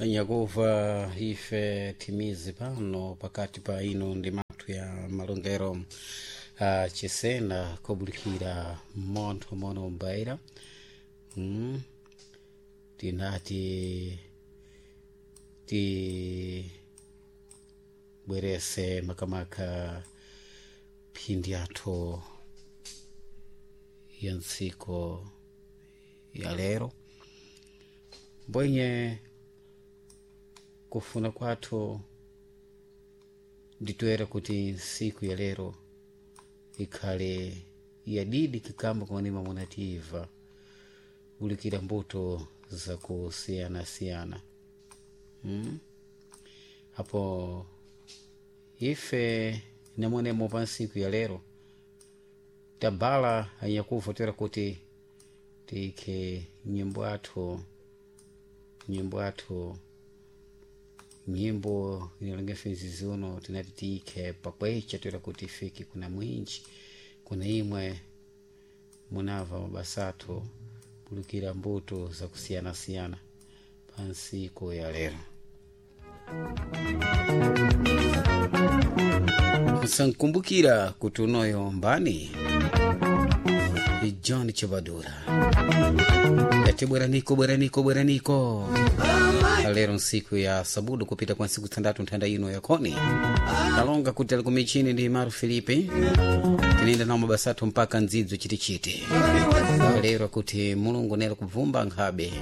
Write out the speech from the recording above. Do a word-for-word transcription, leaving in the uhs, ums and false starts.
Nyakuva ife timizi pano pakati pa ino ndi mathu ya malongero uh, chisena kobulikira montho mono mbaira mm. Tinati tibwerese makamaka phindi yathu ya ntsiko ya lero mbwenye kufuna kwathu nditoera kuti ntsiku ya lero ikhale yadidi kikamba kumanema munativa bulikira mbuto zakusiyanasiyana mm? Apo ife namonemo pa ntsiku ya lero tabala anyakuva toera kuti tiikhe nyimbo athu nyimbo athu nyimbo inalonga mfenzi uno tinati tiikhe pakwecha toera kuti ifike kuna mwinji kuna imwe munava mabasa athu bulukira mbuto zakusiyanasiyana pa ntsiku ya lero. Musankumbukira kuti unoyo mbani ni John Chibadura yati bweraniko bweraniko bweraniko lero nsiku ya sabudu kupita kwa nsiku tandatu nthanda ino yakoni kalonga kuti ali kumichini ndi Maru Filipe tinenda nawo mabasa athu mpaka ndzidzo chitichiti lero kuti Mulungu nelo kubvumba nkhabe.